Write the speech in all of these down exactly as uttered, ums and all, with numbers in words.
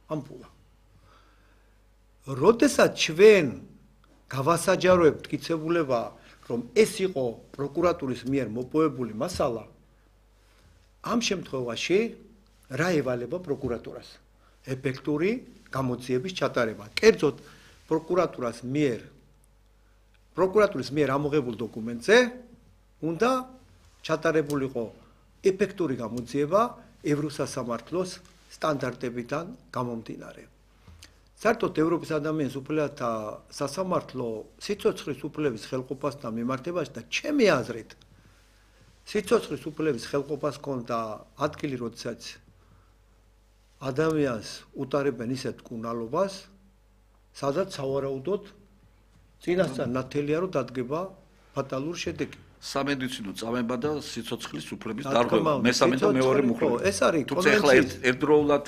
ამპულა. როდესაც ჩვენ გავასაჯაროებთ მტკიცებულება, რომ ეს იყო პროკურატურის მიერ მოპოვებული მასალა, ამ შემთხვევაში რა ევალება პროკურატურას? ეფექტური გამოძიების ჩატარება. კერძოდ პროკურატურას მიერ პროკურატურის მიერ ამოღებულ დოკუმენტზე უნდა ჩატარებულიყო ეფექტური გამოძიება ევროსასამართლოს სტანდარტებიდან გამომდინარე. საერთოდ ევროპის ადამიანის უფლებათა სასამართლო სიცოცხლის უფლების ხელყოფასთან მიმართებაში და ჩემი აზრით სიცოცხლის უფლების ხელყოფას ჰქონდა ადგილი, როდესაც ადამიანს უტარებენ ისეთ მკურნალობას, სადაც სავარაუდოდ წინასწარ ნათელია, რომ დადგება ფატალური შედეგი. სამედიცინო წამება და სიცოცხლის უფლების დარღვევა. მესამე და მეორე მუხლები. ეს არის თუმცა ახლა ერთდროულად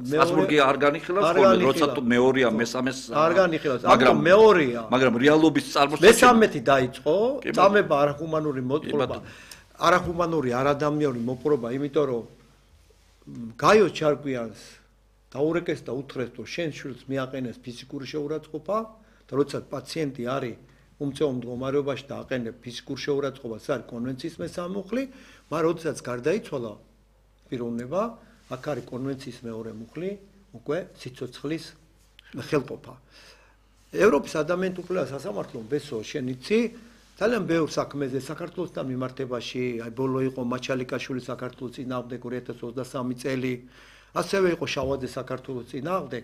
სტრასბურგი არ განიხილავს ხოლმე, როცა მეორეა, მესამეს არ განიხილავს, მაგრამ მეორეა. მაგრამ რეალობის წარმოსწორება მესამეთი დაიწყო, წამება არახუმანური მოტყობა, არახუმანური არადამიანური მოპყრობა, იმიტომ რომ გაიო ჩარკვიანს დაურეკეს და უთხრეს, რომ შენ შვილს მიაყენეს ფიზიკური შეურაცხყოფა და როცა პაციენტი არის უმწეო მდგომარეობაში და აყენებს ფიზიკურ შეურაცხყოფას, არის კონვენციის მესამე მუხლი, მაგრამ როდესაც გარდაიცვალა პიროვნება, აქ არის კონვენციის მეორე მუხლი, უკვე სიცოცხლის ხელყოფა. ევროპის ადამიანთა უფლებათა სასამართლომ ბესო შენ იცი, ძალიან ბევრ საქმეზე საქართველოსთან მიმართებაში, აი ბოლო იყო მაჩალიკაშვილის საქართველოს წინააღმდეგ ორი ათას ოცდასამი წელი, ასევე იყო შავაძე საქართველოს წინააღმდეგ.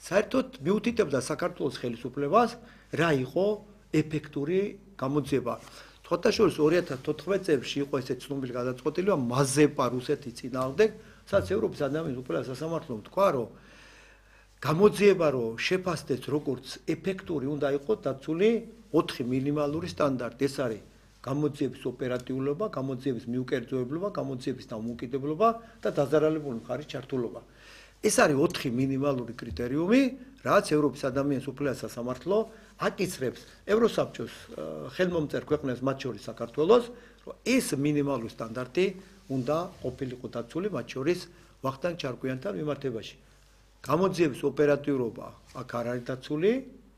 საერთოდ მიუთითებდა საქართველოს ხელისუფლებას, რა იყო ეფექტური გამოძიება. თხუთაშორის ორი ათას თოთხმეტ წელს იყო ესე ცნობილი გადაწყვეტილება მაზეპა რუსეთის წინააღმდეგ, სადაც ევროპის ადამიანის უფლებათა სასამართლომ თქვა, რომ გამოძიება რომ შეფასდეს როგორც ეფექტური უნდა იყოს დაცული ოთხი მინიმალური სტანდარტი. ეს არის გამოძიების ოპერატიულობა, გამოძიების მიუკერძოებლობა, გამოძიების დამოუკიდებლობა და დაზარალებული მხარის ჩართულობა. ეს არის ოთხი მინიმალური კრიტერიუმი, რაც ევროპის ადამიანის უფლებათა სასამართლო აკისრებს ევროსაბჭოს ხელმომწერ ქვეყნებს, მათ შორის საქართველოს, რომ ეს მინიმალური სტანდარტი უნდა ყოფილიყო დაცული, მათ შორის ვახტანგ ჩარკვიანთან მიმართებაში. გამოძიების ოპერატიულობა აქ არ არის დაცული,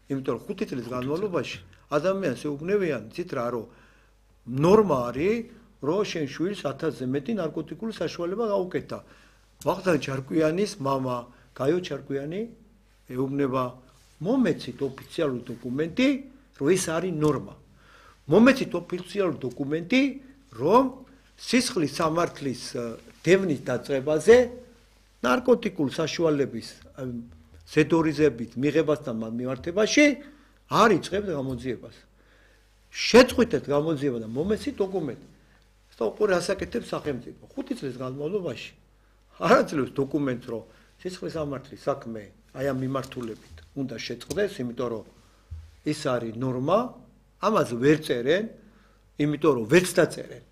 იმიტომ რომ ხუთი წლის განმავლობაში ადამიანს ეუბნებიან, იცით რა, რომ ნორმა არის, რომ შენ შვილს ათასზე მეტი ნარკოტიკული საშუალება გაუკეთა. ვახტანგ ჩარკვიანის მამა გაიო ჩარკვიანი ეუბნება მომეცით ოფიციალური დოკუმენტი, რომ ეს არის ნორმა. მომეცით ოფიციალური დოკუმენტი, რომ სისხლის სამართლის დევნის დაწყებაზე ნარკოტიკული საშუალების ზედორიზებით მიღებასთან მიმართებაში არ იწყებს გამოძიებას. შეწყვიტეთ გამოძიება და მომეცით დოკუმენტი. და უყურე ასაკეთებს სახელმწიფო. ხუთი წლის განმავლობაში არ აძლევს დოკუმენტს, რომ სისხლის სამართლის საქმე აი ამ მიმართულებით უნდა შეწყდეს, იმიტომ რომ ეს არის ნორმა, ამას ვერ წერენ, იმიტომ რომ ვერც დაწერენ.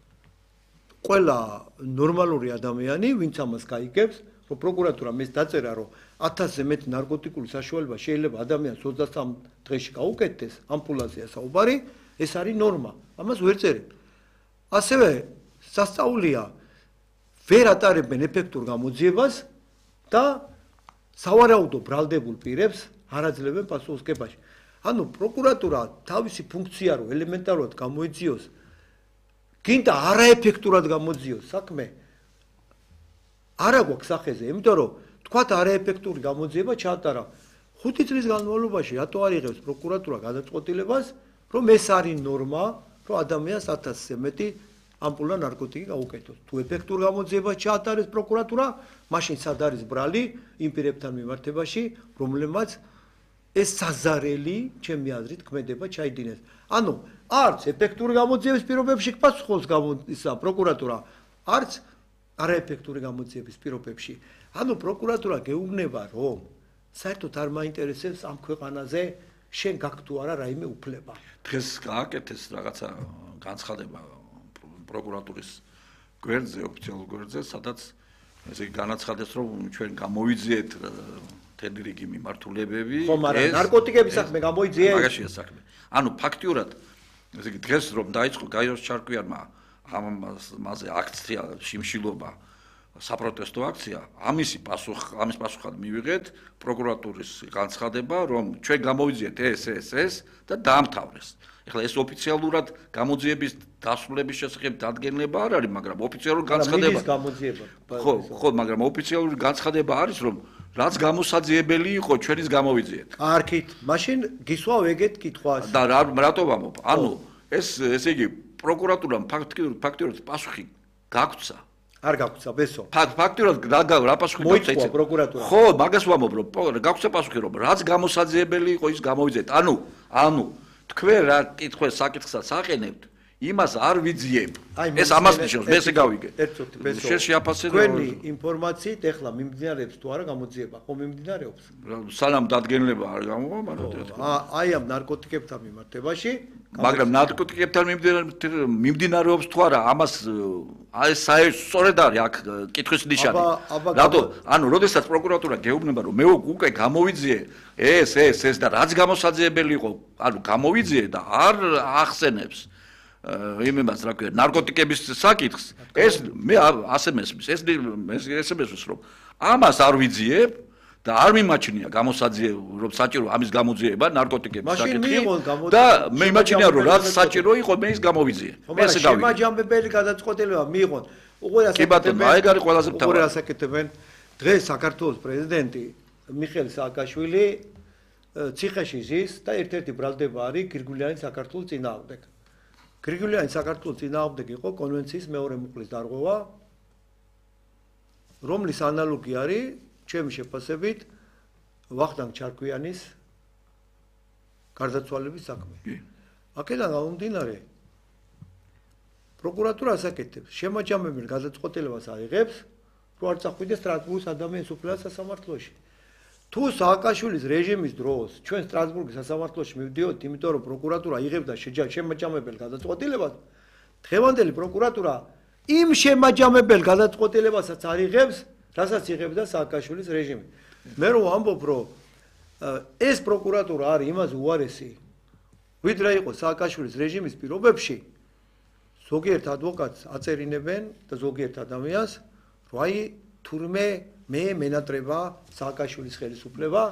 ყველა ნორმალური ადამიანი, ვინც ამას გაიგებს, რომ პროკურატურა მეს დაწერა, რომ ათასზე მეტი ნარკოტიკული საშუალება შეიძლება ადამიანს ოცდასამ დღეში გაუკეთდეს, ამპულაზეა საუბარი, ეს არის ნორმა. ამას ვერ წერენ. ასევე სასწაულია ვერ ატარებენ ეფექტურ გამოძიებას და სავარაუდო ბრალდებულ პირებს არ აძლევენ პასუხისმგებაში. ანუ პროკურატურა თავისი ფუნქცია რო ელემენტარულად გამოიძიოს, გინდა არაეფექტურად გამოძიოს საქმე, არა გვაქვს სახეზე, იმიტომ რომ თქვათ არაეფექტური გამოძიება ჩაატარა. ხუთი წლის განმავლობაში რატო არ იღებს პროკურატურა გადაწყვეტილებას, რომ ეს არის ნორმა, რომ ადამიანს ათასზე მეტი ამპულა ნარკოტიკი გაუკეთოს. თუ ეფექტურ გამოძიებას ჩაატარებს პროკურატურა, მაშინ სად არის ბრალი იმ პირებთან მიმართებაში, რომლებმაც ეს საზარელი, ჩემი აზრით, ქმედება ჩაიდინეს. ანუ არც ეფექტური გამოძიების პირობებში გპასუხობს ისა პროკურატურა, არც არაეფექტური გამოძიების პირობებში. ანუ პროკურატურა გეუბნება, რომ საერთოდ არ მაინტერესებს ამ ქვეყანაზე შენ გაქვს თუ არა რაიმე უფლება. დღეს გააკეთეს რაღაცა განცხადება პროკურატურის გვერდზე, ოფიციალურ გვერდზე, სადაც ესე იგი განაცხადეს, რომ ჩვენ გამოვიძიეთ თელი რიგი მიმართულებები. ხო, მაგრამ ნარკოტიკების საქმე გამოიძიეთ? მაგაშია საქმე. ანუ ფაქტიურად, ესე იგი დღეს რომ დაიწყო გაიოს ჩარკვიანმა ამაზე აქცია, შიმშილობა, საპროტესტო აქცია, ამისი პასუხ, ამის პასუხად მივიღეთ პროკურატურის განცხადება, რომ ჩვენ გამოვიძიეთ ეს, ეს, ეს და დაამთავრეს. ეხლა ეს ოფიციალურად გამოძიების დასრულების შესახებ დადგენილება არ არის, მაგრამ ოფიციალური განცხადება. მიდის გამოძიება. ხო, ხო, მაგრამ ოფიციალური განცხადება არის, რომ რაც გამოსაძიებელი იყო, ჩვენის გამოვიძიეთ. კარგით, მაშინ გისვავ ეგეთ კითხვას. და რატო ვამბობ? ანუ ეს ესე იგი პროკურატურამ ფაქტიურად ფაქტიურად პასუხი გაგვცა. არ გაგვცა, ბესო. ფაქტიურად რა პასუხი გაგვცა ეს პროკურატურა. ხო, მაგას ვამბობ, რომ გაგვცა პასუხი, რომ რაც გამოსაძიებელი იყო, ის გამოვიძიეთ. ანუ, ანუ თქვენ რა კითხვას საკითხსაც აყენებთ, იმას არ ვიძიებ. ეს ამას ნიშნავს, მე ესე გავიგე. ერთოთი, ბესო. შენ შეაფასე თქვენი ინფორმაციით ეხლა მიმდინარეობს თუ არა გამოძიება, ხო მიმდინარეობს? სანამ დადგენილება არ გამოვა, მაგრამ აი ამ ნარკოტიკებთან მიმართებაში, მაგრამ ნარკოტიკებთან მიმდინარეობს თუ არა, ამას აი საერთოდ არის აქ კითხვის ნიშანი. რატო? ანუ, როდესაც პროკურატურა გეუბნება, რომ მე უკვე გამოვიძიე ეს, ეს, ეს და რაც გამოსაძიებელი იყო, ანუ გამოვიძიე და არ ახსენებს იმებას რა ქვია, ნარკოტიკების საკითხს, ეს მე ასე მესმის, ეს ესე მესმის, რომ ამას არ ვიძიებ და არ მიმაჩნია გამოსაძიე, რომ საჭირო ამის გამოძიება ნარკოტიკების საკითხი და მე იმაჩნია, რომ რაც საჭირო იყო, მე ის გამოვიძიე. მე ესე გავიგე. შემაჯამებელი გადაწყვეტილება მიიღონ. უყურე კი ბატონო, აი არის ყველაზე მთავარი. უყურე ასაკეთებენ დღეს საქართველოს პრეზიდენტი მიხეილ სააკაშვილი ციხეში ზის და ერთ-ერთი ბრალდება არის გრიგოლიანი საქართველოს წინააღმდეგ. გრიგოლიანი საქართველოს წინააღმდეგ იყო კონვენციის მეორე მუხლის დარღვევა, რომლის ანალოგი არის ჩემი შეფასებით ვახტანგ ჩარკვიანის გარდაცვალების საქმე. აქედან გამომდინარე პროკურატურა ასაკეთებს, შემაჯამებელ გადაწყვეტილებას აიღებს, რომ არ წახვიდეს სტრასბურგის ადამიანის უფლება სასამართლოში. თუ სააკაშვილის რეჟიმის დროს ჩვენ სტრასბურგის სასამართლოში მივდიოდით, იმიტომ რომ პროკურატურა იღებდა შემაჯამებელ გადაწყვეტილებას, დღევანდელი პროკურატურა იმ შემაჯამებელ გადაწყვეტილებასაც არ იღებს, რასაც იღებდა სააკაშვილის რეჟიმი. მე რომ ვამბობ, რომ ეს პროკურატურა არის იმაზე უარესი, ვიდრე იყო სააკაშვილის რეჟიმის პირობებში, ზოგიერთ ადვოკატს აწერინებენ და ზოგიერთ ადამიანს, რომ აი თურმე მე მენატრება სააკაშვილის ხელისუფლება.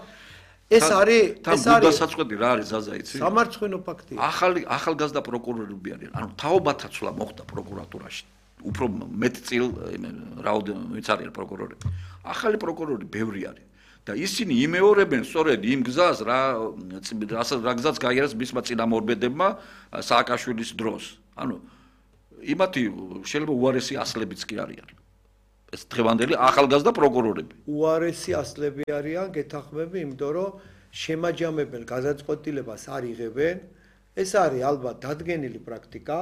ეს არის ეს არის დასაწყისი რა არის ზაზა იცი? სამარცხვინო ფაქტია. ახალი ახალგაზრდა პროკურორები არიან. ანუ თაობათაცვლა მოხდა პროკურატურაში. უფრო მეტ წილ რაოდენობით ვინც არიან პროკურორები. ახალი პროკურორი ბევრი არის. და ისინი იმეორებენ სწორედ იმ გზას რა რა გზაც გაიარეს მისმა წინამორბედებმა სააკაშვილის დროს. ანუ იმათი შეიძლება უარესი ასლებიც კი არიან. ეს დღევანდელი ახალგაზრდა პროკურორები. უარესი ასლები არიან, გეთანხმები, იმიტომ რომ შემაჯამებელ გადაწყვეტილებას არ იღებენ. ეს არის ალბათ დადგენილი პრაქტიკა,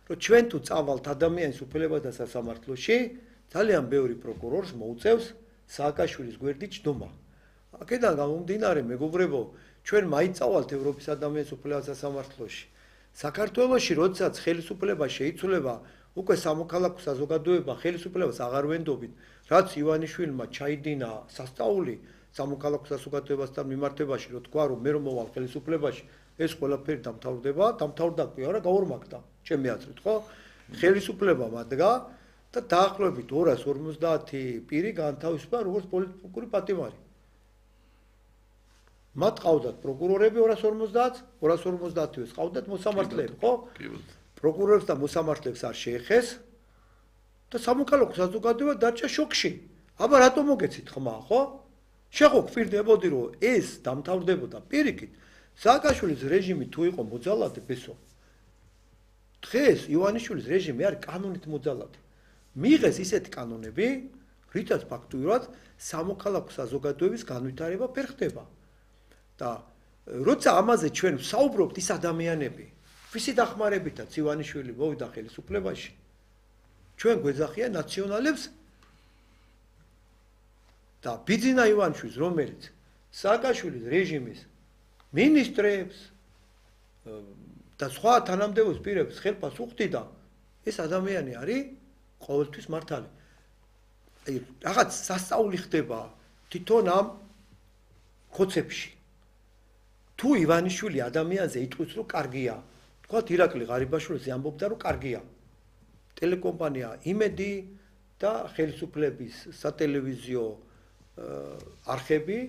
რომ ჩვენ თუ წავალთ ადამიანის უფლებათა სასამართლოში, ძალიან ბევრი პროკურორს მოუწევს სააკაშვილის გვერდით ჯდომა. აქედან გამომდინარე, მეგობრებო, ჩვენ მაინც წავალთ ევროპის ადამიანის უფლებათა სასამართლოში. საქართველოში, როდესაც ხელისუფლება შეიცვლება, უკვე სამოქალაქო საზოგადოება ხელისუფლებას აღარ ვენდობით, რაც ივანიშვილმა ჩაიდინა სასწაული სამოქალაქო საზოგადოებასთან მიმართებაში, რომ თქვა, რომ მე რომ მოვალ ხელისუფლებაში, ეს ყველაფერი დამთავრდება, დამთავრდა კი არა, გაორმაგდა, ჩემი აზრით, ხო? ხელისუფლება მადგა და დაახლოებით ორას ორმოცდაათი პირი განთავისუფლდა როგორც პოლიტიკური პატიმარი. მათ ყავდათ პროკურორები ორას ორმოცდაათს, ორას ორმოცდაათივეს ყავდათ მოსამართლეები, ხო? პროკურორებს და მოსამართლეებს არ შეეხეს და სამოქალაქო საზოგადოება დარჩა შოკში. აბა რატომ მოგეცით ხმა, ხო? შეხო გვფირდებოდი, რომ ეს დამთავრდებოდა პირიქით. სააკაშვილის რეჟიმი თუ იყო მოძალადე, ბესო. დღეს ივანიშვილის რეჟიმი არის კანონით მოძალადე. მიიღეს ისეთი კანონები, რითაც ფაქტურად სამოქალაქო საზოგადოების განვითარება ვერ ხდება. და როცა ამაზე ჩვენ ვსაუბრობთ, ის ადამიანები ვისი დახმარებითაც ივანიშვილი მოვიდა ხელისუფლებაში, ჩვენ გვეძახია ნაციონალებს და ბიძინა ივანიშვილს, რომელიც სააკაშვილის რეჟიმის მინისტრებს და სხვა თანამდებობის პირებს ხელფას უხდიდა, ეს ადამიანი არის ყოველთვის მართალი. აი, რაღაც სასწაული ხდება თვითონ ამ ხოცებში. თუ ივანიშვილი ადამიანზე იტყვის, რომ კარგია, თქვათ ირაკლი ღარიბაშვილზე ამბობდა, რომ კარგია. ტელეკომპანია იმედი და ხელისუფლების სატელევიზიო არხები